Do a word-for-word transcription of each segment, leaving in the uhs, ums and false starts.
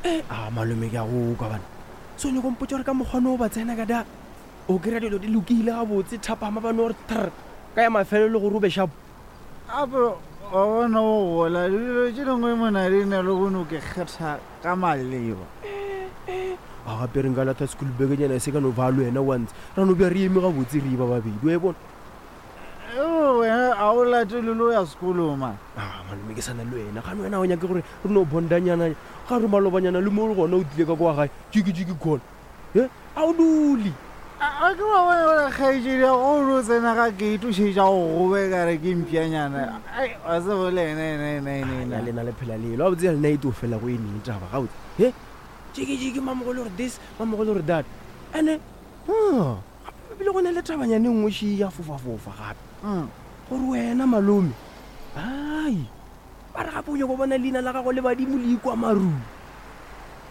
Eh, a malome ke a go kwa bana so nyako mpotsa gore ka mokgwane o ba tsena ka da o kry-a dilo di lokile gabotse thapama bane gore tr ka ya mafelelo le gore o be shapo Gape wa bona o gola dilo tše dingwe mona di na le go no ke kgetha ka maleba. A gape re nka latha school bekenyana e se ka no ba le wena once ra no bja re eme gabotse re ba babedi wa e bona. Eo wena a o latele le o ya sekolong man. A malome ke sana le wena gane wena o nyake gore re no bondanyana ga re malobanyana le mo le gona o tlile ka kwa gae jiki-jiki call e a o dule. A ke wa bona gore kgaetšedi ya go no tsena ga gate o šetša go gobe ka re ke mpšanyana. Ai wa tseba le ena ena ena ena ena ena. lena le phela lelo a botse ya lena e tlo fela go e neng taba gabotse he jiki-jiki mamogolo gore this mamogolo gore that ande gape ebile go na le tabanyane e nngwe še ya fofafofa gape Mm. gore wena malome ai ba re gape o nyako bona leina la gago le badimo le ikwa marung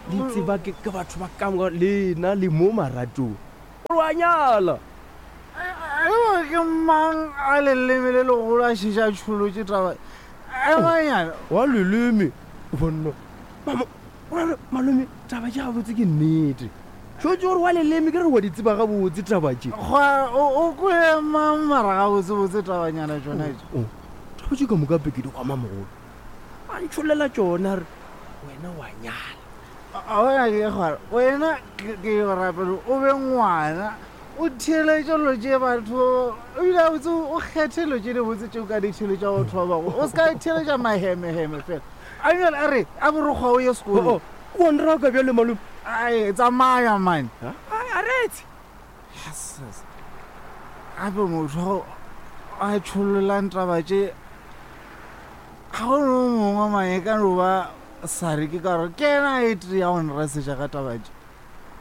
le tseba ke ke batho ba kamoka lena le mo maratong gore wa nyala. Eo ke mang a leleme le legolo a šetša tšholotše taba emanyana. Wa leleme bonna Mamo- ora re, malome taba tše gabotse ke nnete tšotse gore wa leleme ke re wa di tseba gabotse taba tše. Gwa o o kwele mang mara gabotsebotse tabanyana tšona tše. Oh, taba tše ka moka pe ke di kwa mamogolo a ntšholela tšona re wena wa nyala. A bona ke gore wena ke ke go rapela o be ngwana o theeletše dilo tše batho ebile gabotse o kgethe dilo tše dibotse tše o ka di theeletša batho ba bangwe o se ka theeletša mahemeheme fela. A bjale a re a borokgwa o ye sekolong. O nraka bjale malome. Ai tsamaya man. A retse. Yes. Gape motho a tšhololang taba tše ga go no mongwe mang e ka no ba Sare ke ka gore ke ena a e tee ya go nresetša ka taba tše.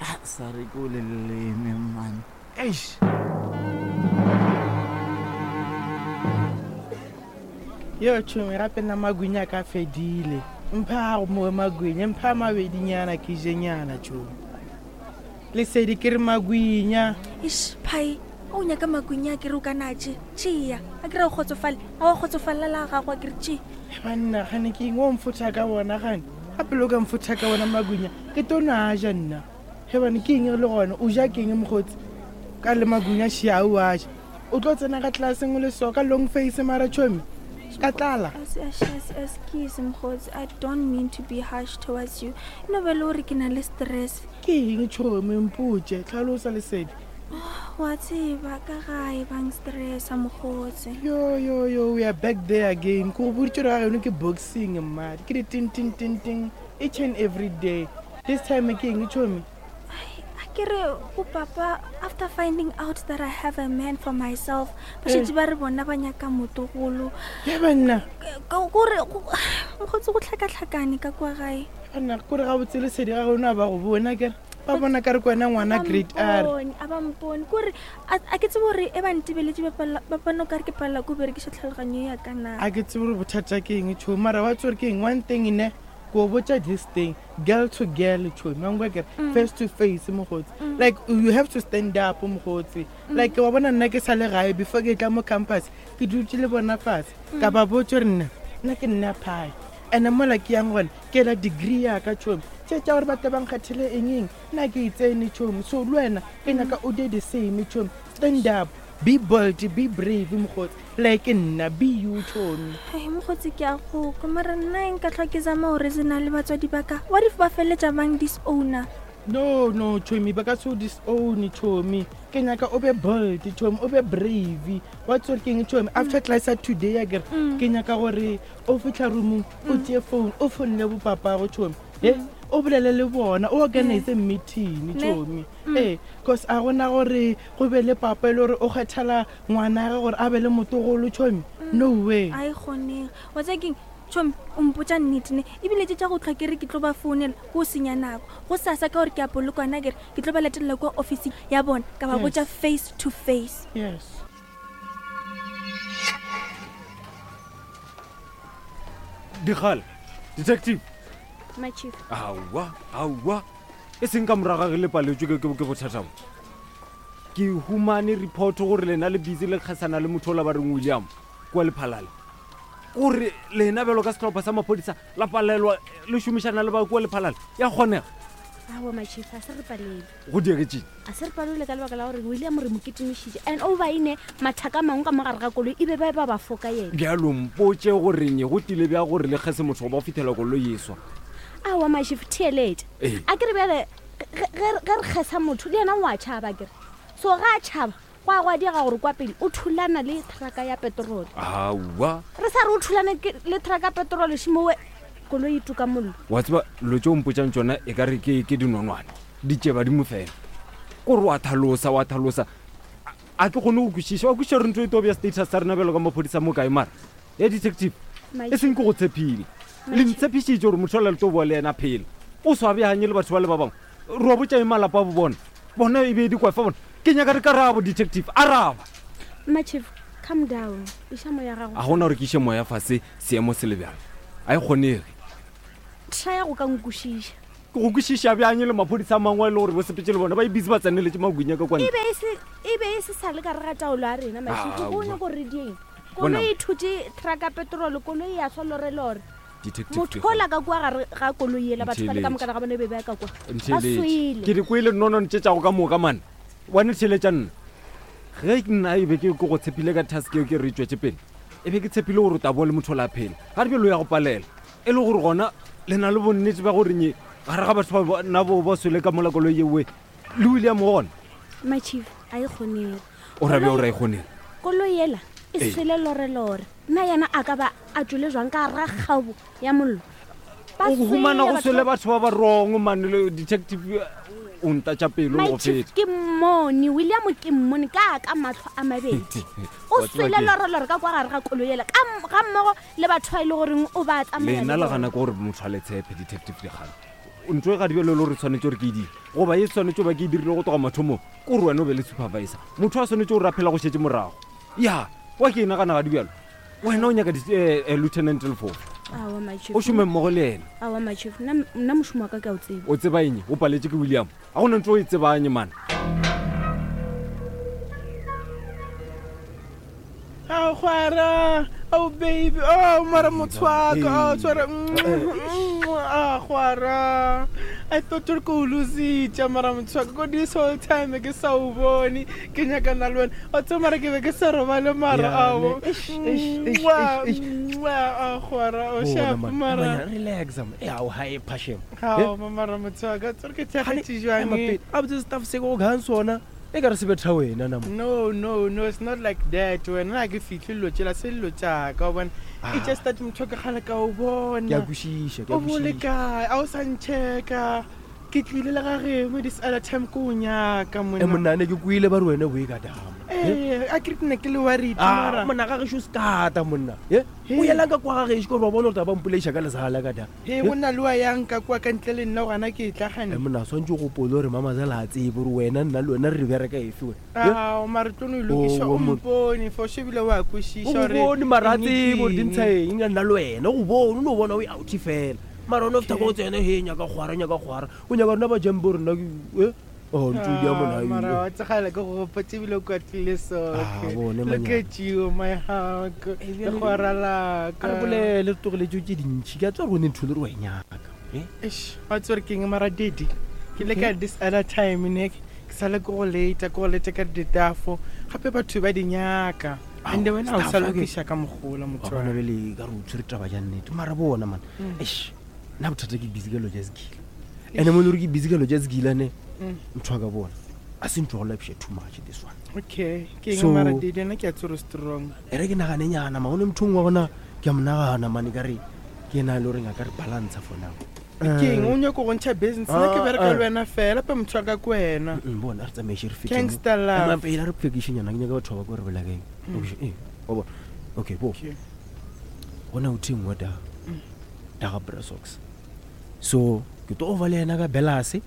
Ah, Sare ke o leleme man. Eish. Yo tšhomi gape nna magwinya a ka fedile. Mpha a mo magwinya, mpha a mabedinyana ke jenyana tšhomi. Lesedi ke re magwinya. Eish, phai o nyaka magwinya a kere o ka na tše tšea a kere o kgotsofale a wa kgotsofalela la gago a kere tše. Banna gane ke eng o mfotha ka bona gane gape le o ka mfotha ka bona magwinya ke tlo no a ja nna. He bane ke eng re le gona o ja ke eng mokgotsi ka le magwinya šia o a ja o tlo tsena ka tlelaseng o le so ka long face mara tšhomi ka tlala. Excuse mokgotsi, I don't mean to be harsh towards you. E no ba le gore ke na le stress. Ke eng tšhomi mpotše tlhalosa lesedi. Wa tseba ka gae bang stressa mokgotsi. Yo yo yo we are back there again. Ko go boditše gore ga geno ke boxing mmadi ke di ting ting ting ting each and every day. This time ke eng tšhomi? A ke re go papa after finding out that I have a man for myself ba šetše ba re bona ba nyaka motogolo. Ya banna. Kore mokgotsi go tlhakatlhakane ka kwa gae. Banna kore gabotse lesedi ga geno a ba go bona kere ba bona ka re ke wena ngwana grade R. A ba mpone kore a ke tsebe gore e ba ntebeletše ba bona o kare ke palela ko berekiša tlhaloganyo ya ka na. A ke tsebe gore bothata ke eng tšhomi mara wa tsebe gore ke eng one thing ne ko botša this thing girl to girl tšhomi wa nkwa kere face to face mokgotsi like you have to stand up mokgotsi like wa bona nna ke sa le gae before ke tla mo campus ke dutše le bona fatshe ka ba botša gore nna nna ke nna phae ene mola ke yang gona ke ela degree ya ka tšhomi tše tša gore batho ba nkgethele eng eng nna ke e tsene tšhomi so le wena ke nyaka o do the same tšhomi stand up be bold be brave mokgotsi like nna be you tšhomi. Ai mokgotsi ke a go kwa mara nna nka tlhwa ke zama gore se na le batswadi ba ka what if ba feleletša bang disowner? No no tšhomi ba ka se o disown tšhomi ke nyaka o be bold tšhomi o be brave wa tsore ke eng tšhomi after class ya today a kere ke nyaka gore o fitlha roomong o tšee phone o founele bopapago tšhomi he o bolele le bona o organize meeting tšhomi ee cause a gona gore go be le papa e le gore o kgethela ngwana ge gore a be le motogolo tšhomi no way. A e kgonege wa tseba keng tšhomi o mpotša nnete ne ebile tše tša go tlhwa ke re ke tlo ba founela ko o senya nako go sasa ka gore ke a polokwana kere ke tlo ba latelela kwa officing ya bona ka ba botša face to face. Yes. Dikgale detective. My chief. Aowa aowa e seng ka morago ge le paletswe ke bothata bo. Ke humane report gore lena le busy le kgesana le motho o la ba reng William kwa Lephalale. Kore lena bjalo ka sehlopha sa maphodisa la palelwa le šomišana le ba kua lephalale ya kgonega. Aowa my chief, a se re palelwe. Go diegetseng? A se re palelwe ka lebaka la gore William re mo kitimišitše and over ine mathaka a mangwe ka mo gare ga koloi e be ba ba ba foka yena. Bjalo mpotše goreng go tlile bja gore le kgese motho go ba fihlela koloi e swa. Aowa my chief, theeletša. Ee. A ke re bjale ge, ge, ge re kgesa motho le yena o a tšhaba kere. So ga a tšhaba go a go a diega gore kwa pele o thulana le trucka ya petrol. Aowa. Re sa re o thulane ke, le trucka ya petrol šimowe koloi e tuka mollo. Wa tseba dilo tše o mpotsang tšona e ka re ke, ke dinonwane, di tše badimo fela. Kore wa thalosa, wa thalosa. A, a ke kgone go kwešiša, wa kwešiša gore ntho e tlo bea status sa rena bjalo ka maphodisa mo kae mara. Ya detective, My e seng ke go tshepile. My Le chief. ntshepišitše gore motho o le tlo boa le yena phela. O swabeanye le batho ba le ba bangwe. Re wa botša eng malapa a bo bona? Bona e be di kwa fa bona. Ke nyaka re karabo detective, araba. My chief, calm down. Iša moya gago. A gona gore ke iše moya fase seemo se le bjalo. A e kgonege. Try go ka nkwešiša. Ke go kwešiša bjang le maphodisa a mangwe a e le gore bo sepetse le bona ba e busy ba tseneletše magwinya ka kwa ntle. E be e se, e be e se sa le ka re ga taolo ya rena, my chief. Aowa. O nyako re dieng? Bona. Koloi e thutše truck ya petrol, koloi ya swa lorelore. Detective Motho Dikgale. ola ka kua gare ga koloi ela, batho ba le ka Ntheeletše. moka ga bona be ba ka kua. Ba Ntheeletše. swele. Ke di kwele nonone tše tšago ka moka mane. Wa netheeletša nna. Ge nna e be ke ke go tshepile ka task eo ke re e tšwetše pele, e be ke tshepile gore o tla boa le motho o la phela. Ga re bjalo ya go palela. E le gore gona le na le bonnete ba gore nye gare ga batho ba nna bo ba swele ka mola koloi eo, le William gona. My chief, a e kgonege. O ra bjang gore a e kgonege? Koloi ela e Ee. swele lorelore. Nna yena a ka ba a tšwele jwang ka gare ga kgabo ya mollo? Ba O humana swele go batho swele ba- batho ba ba wrong mane, le detective o ntatša pelo My go chief, feta. ke mmone, William ke mmone ka ka mahlo a mabedi. O Wa tseba swele ke eng? lorelore ka kwa gare ga koloi ela, ka m-, ga mmogo le batho ba e le goreng o ba tsamaya Lena le le bona. gana ke gore motho a le tshepe detective Dikgale. Ntho e ga di bjalo le gore tshwanetse gore ke e dire, goba e tshwanetse ba ke e dirile go tloga mathomong, ke gore wena o be le supervisor. Motho a tshwanetse gore a phela go šetše morago. Ya, wa ke e nagana ga di bjalo. Wena o nyaka di-, eh, eh, Lieutenant Lefoko. Aowa, my chief. O šome mmogo le yena. Aowa, my chief. Nna, nna mošomo wa ka ke a o tseba. O tseba eng? O paletše ke William. A gona ntho o e tsebang man. Ao, kgwara. Oh, baby. Oh, mara motho wa ka. Oh, tshwara. Ah, kgwara. I thought gore ke o lositše, mara motho wa ka, ko this whole time ke sa o bone, ke nyakana le wena. Wa tseba mara ke be ke sa robale mara, Ya, ao. ne. Eish, eish, eish, Mwah, eish, eish. mwah, ah, kgwara, o Bona, sharp, man. mara. Manya, relax, man. Eh, ao, ha e phashem. Ao, mara motho wa ka, tsore ke theagetše jwang, Ema eh? pele. A botse staff se go kgang sona. E ka re se betha wena na mo. No, no, no, it's not like that. Wena ha ke fihle dilo tšela, se dilo tša ka, wa bona. Ah. It's just that motho wa ka kgale ka o bona. Ke a kwešiša, ke a O bo le kwešiša. kae? A o sa nchecka. Ke tlile le ga geno this other time ke o nyaka, Eh, monna. monna, ne ke kwele ba re wena o e ka dama. Eh, a ke re ke ne ke le worried, Ah, mara. monna, ga gešo sekata, monna. Eh, o He. yelang ka kwa ga gešo, ke gore wa bona gore taba mpolaiša ka lesala ka da. He, go na le wa yang ka kwa ka ntle le nna gona ke tla gane. Eh, monna, swantse o gopole gore mamazela a tsebe gore wena nna le wena re bereka efe wena. Eh? Ao, mara tlo no e lokiša, Oh, o monna. mpone, for sure ebile wa kwešiša O hore bone mara a eng tsebe gore ke di eng. ntsha eng nna le wena, o bone, o no bona o e out fela. Mara o no fihla ko tsena, he, nyaka kgwara, nyaka kgwara. O nyaka rona ba jampe gore nna ke, eh? Oh, ntho di a mona Ah, e. mara wa tsegala ke go gopotse ebile o kwatile Ah, soke. bone, Look manyana. at you, my hug, Eh, bjale- legwara la ka. A re bolele, re tlogele tšeo tše dintšhi. Ke a tseba gore go ne ntho e le gore wa e nyaka. Eh? Eish, wa tseba gore ke eng mara daddy? Ke le ka this other time ne, ke sale ke go lata, ke go lata ka ditafo. Gape batho ba di nyaka. And wena ha o sa staff, okay. lokiša ka mogola motho Wa wa bona ka. bjale ka re o tshwere taba ja nnete. Mara bona, man. Mm. Eish, nna bothata ke busy ka dilo tša sekila. And-e mo e le gore ke busy ka dilo tša sekila ne, Mm. motho wa ka bona, a se ntho ya go lapiša too much this one. Okay, ke eng So- mara daddy? Nna ke a tseba gore strong. E re ke nagane nyana, ma, go ne motho o mongwe wa bona ke a mo nagana, man, ekare ke ena a le goreng a ka re balancer for now. Ke eng o nyaka go ntšha business? Nna ke Ah, bereka ah. le wena fela, pe motho wa ka ke wena. Mm, bona, a re tsamaishe re fete mo. Gangster love. Ema pele, a re phekiše nyana, ke nyaka batho ba kwa re bolela ka eng. Okay, eh, wa bona. Okay, bo. Okay. Gona o theng wa da, da ga Bra Socks. So, ke tlo over le yena ka Belase.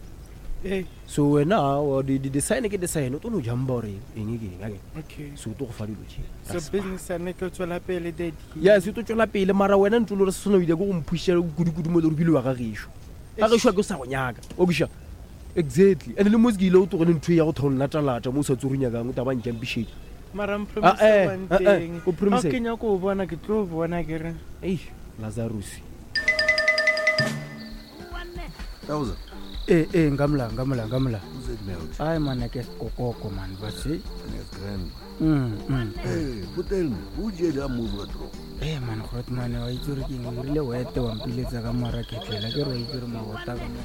Eh, So wena, wa di, di design ke design, o tlo no jamba gore eng ke eng, akere? okay. So o tlo go fa dilo tše. So Ra spa. business ya nna e tlo tswela pele, daddy. Yes, e tlo tswela pele, mara wena ntho e le gore se sona o ile ke go mphuša kudu-kudu mo e le gore bile wa ga gešo. Ga gešo a ke o sa go nyaka. Wa kwešiša? Exactly. And le mo se ke ile o tlogele ntho e ya go thola latalata mo o sa tsore o nyakang, o taba ntšampišetša. Mara Ah, eh, mpromise one ah, eh, thing. o promise Ga ke nyako o bona ke tlo bona ke re. Ei, Lazarus. Thousand. ee ee nka mola nka mola nka mola Who's that melt? ai man ke sekokoko man base That's grand. Mm, mm. Hey, hotel me. Who jail a move a draw? ee man grotman wa itse gore ke eng o rile wete wa mpiletsa ka moara ketlela ke re wa itse gore mabota ka mo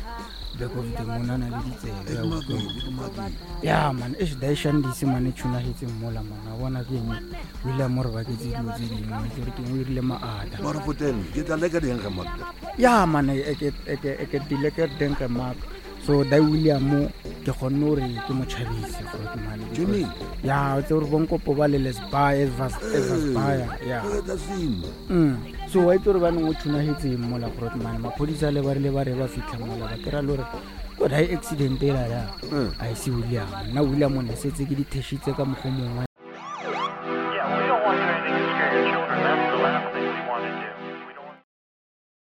back of the moon a na le ditsebe a utlwa. ya man e daishandise mane tshunagetse mmola man a bona ke eng o ile a mo re baketse dilo tse dingwe wa itse gore ke eng o irile maata Mara hotel me. Ke tla leka ding ga makta. ya man e ke e ke e ke dile ke teng ke mark so dai william ke kgonne gore ke mo tšhabise grootman Jimmy. ya o tse gore bonkopo ba le lesbaya evasbaya ya That's him. Mm. so wa itse gore ba neng o tshunagetseng mola grootman maphodisa le ba rile ba re ba fitlha mola ba kry-a le gore ko dai accident e lala a ise william nna william o ne setse ke dithešitse ka mokgwa mongwe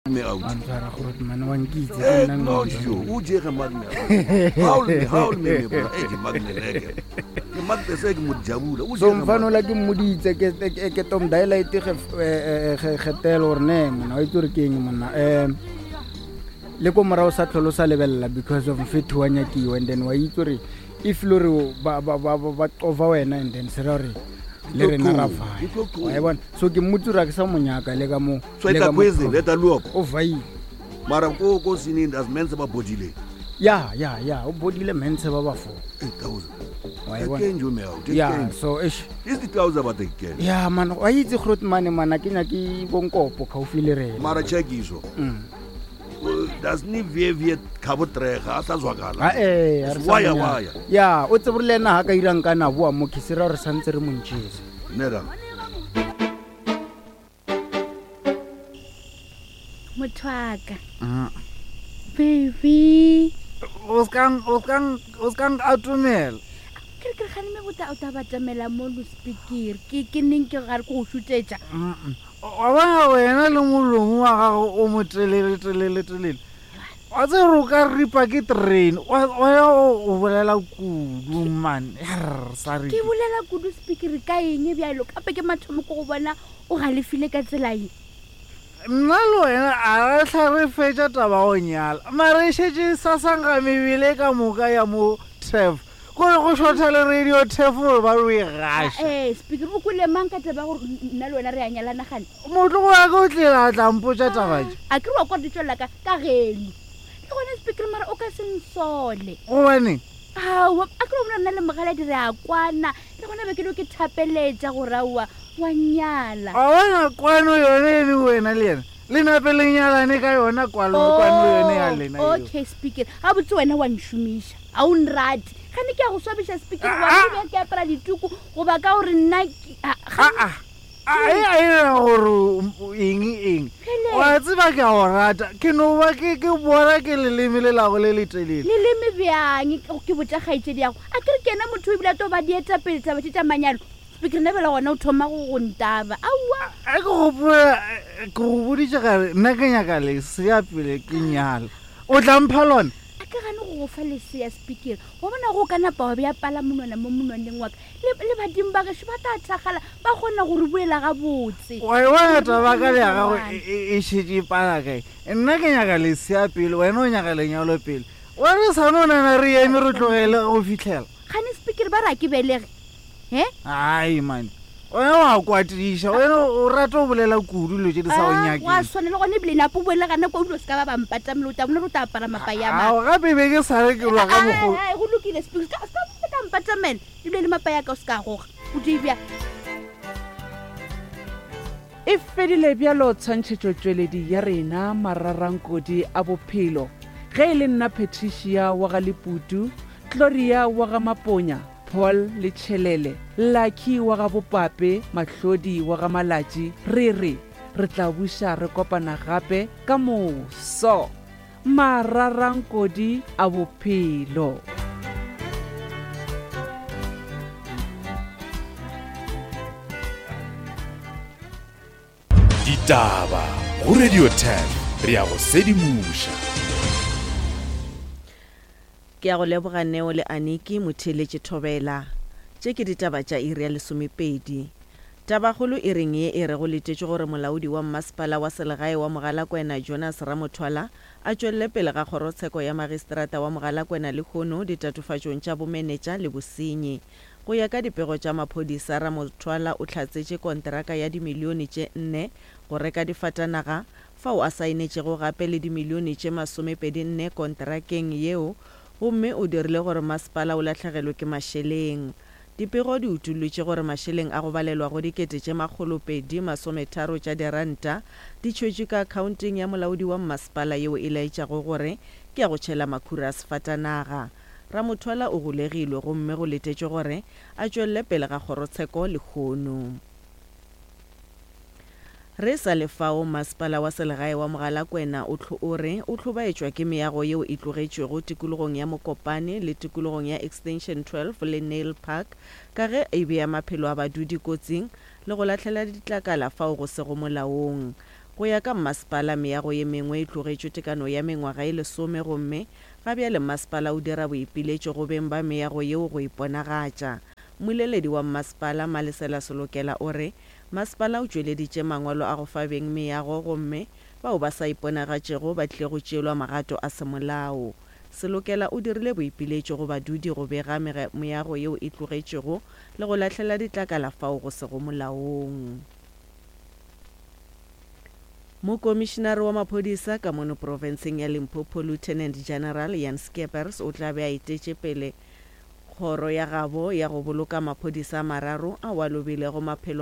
Me out. wa ntshwara grootman wa nkitse Eh, ke nna no, ngwana. jo. Who jail ga magne? Haul me, haul me me bra. Eh, ke magne leke. Ke magne se ke mo jabula. Who so jail ga mfano la ke mmoditse ke- ke ke tom dialite getelo gore ne monna wa itse gore ke eng monna um le ko morago sa tlhole o sa lebelela because of mfetho wa nyakiwa and then wa itse gore if le gore ba- ba ba- ba- ba qova wena and then se ra gore le rena ra Ke tlo faya qoma. wa e bona so ke mmotse gore a ke sa monyaka le ka mo So le etla ka mo kwezi leta luopo. o vaile Mara ko ko sinini as men se ba bodile. ya ya ya o bodile mentshe ba ba four Eh, thousand. Wa e Ke bona? kenjo me out. ya so eish Is the thousand ba take. ya man wa itse grootmane mana ke nyake bonkopo gaufi le rena Mara check iso. Mm. Das ni vie vie khabo trega a sa zwakala. Ah, eh, ha re sa Waya mo nyaka. waya. ya o tsebe gore le ena ga ka irang ka na boa mo ke se ra gore santse re montšhetse Nera. motho aka baby o ska- o ska- o ska atomela ke re ke re gane me bota o ta batamela mo lospikere ke ke neng ke gare ke go šutetša wa bona wena le molomo wa gago o mo telele telele telele wa tse gore o ka ripa ke train Wa- wena o o bolela kudu man Yarr, sorry. ke bolela kudu spikere ka eng bjalo kape ke mathomo ko go bona o galefile ka tsela ye nna le wena a re tlha re fetša taba go nyala mare e šetše sasankga mebele ka moka ya mo tef kore go šotha le radio tef gore ba re e gaša ee spikere o kwele mang ka taba ya gore nna le wena re a nyalana gane motlogo wa ka o tlile a tla mpotša taba tše a ke re wa kwa di tswelela ka ka geno le gona spikere mara o ka se nsole gobaneng aowa a ke re bona nna le mogaladi re a kwana le gona be ke dio ke thapeletša gore aowa wa nyala a bona kwano yone ene wena le yena le nape le nyalane ka yona kwalo kwano yone ya lena eo. Oh, okay speaker ga botse wena wa nšomiša ga o nrate gane ke a go swabiša speaker Ah, wa ah. be ke apara dituku goba ka gore nna ke- ah, ga- aa a e a ena gore o- eng eng Phele. wa tseba ke a go rata ke no ba ke ke bona ke leleme le lago le letelele leleme bjang ke- ke botša kgaetšedi yago a ke re ke ena motho o ebile a to ba dietapele taba tše tša manyalo speaker nna bela gona o thoma go go ntaba aowa a ke gopola eh, ke go boditše gare nna ke nyaka lesea pele ke nyala o tla mpha lona a ke gane go go fa lesea speaker wa bona go ka napa wa bea pala monwana mo monwaneng wa ka le le badimo ba gešo ba tla thakgala ba kgona go re buela gabotse wa e bona taba ka le ya gago e- e e šetše e pala kae nna ke nyaka lesea pele wena o nyaka lenyalo pele wa re sa no nana re eme re tlogele go fitlhela gane speaker ba re a ke belege he ai mane wena wa kwatiša wena o rata go bolela kudu dilo tše di sa go Ah, wa nyakeng swana le gone ebile napo boele gana kwa o dilo se ka ba bampatamele o tla bona re o tla apara mapaya a ao gape be ke sa re ke lwa ka mokgo mang go lokile speaker se ka se ka mpatamela ebile le mapaya a ka o se ka goga o di bja E fedile bjalo tshwantšhetšotšweledi ya rena mararankodi a bophelo ge e le nna Patricia wa ga Leputu, Gloria wa ga Maponya, Paul le Tšhelele, Lucky wa ga Bopape, Mahlodi wa ga Malatši, re re re tla buša re kopana gape ka moso. Mararankodi a bophelo. Ditaba go Radio ten re a go sedimoša. Ke a go leboga Neo le Aniki motheeletše Thobela. Tše ke ditaba tša iri ya lesomepedi. Tabakgolo iring ye e re go letetšwe gore molaodi wa mmasepala wa selegae wa Mogalakwena Jonas Ramothwala a tšwelele pele ga kgorotsheko ya magistrata wa Mogalakwena lehono ditatofatšong tša bomenetša le bosenyi. Go ya ka dipego tša maphodisa, Ramothwala o hlatsetše konteraka ya dimilione tše nne go reka difatanaga, fao a saenetšego gape le dimilione tše masomepedi nne konterakeng yeo gomme o dirile gore masepala o lahlegelwe ke mašeleng. Dipego di utollotše gore mašeleng a go balelwa go dikete tše makgolo pedi masometharo tša diranta di tšhwetšwe ka akhaonteng ya molaodi wa mmasepala yeo e laetšago gore ke ya go tšhela makhura a sefatanaga. Ramothwala o golegilwe gomme go letetšwe gore a tšwelele pele ga kgorotsheko lehono. Re sa le fao, Masepala wa Selegae wa Mogalakwena o o re o hlobaetšwa ke meago yeo e tlogetšwego tikologong ya Mokopane le tikologong ya Extension twelve le Nail Park ka ge e bea maphelo a badudi kotsing le go lahlela ditlakala fao go sego molaong. Go ya ka mmasepala, meago ye mengwe e tlogetšwe tekano ya mengwaga e lesome gomme ga bjale mmasepala o dira boipiletšo go beng ba meago yeo go iponagatša. Mmoleledi wa mmasepala, Malesela Selokela o re masepala o tšweleditše mangwalo a go fa beng meago gomme bao ba sa iponagatšego ba tlile go tšeelwa magato a semolao. Selokela o dirile boipiletšo go badudi go bega meago yeo e tlogetšwego le go lahlela ditlakala fao go sego molaong. Mokomišinare wa maphodisa ka mono profenseng ya Limpopo Lieutenant General Jan Scheepers o tla be a etetše pele kgoro ya gabo ya go boloka maphodisa a mararo ao a lobilego maphelo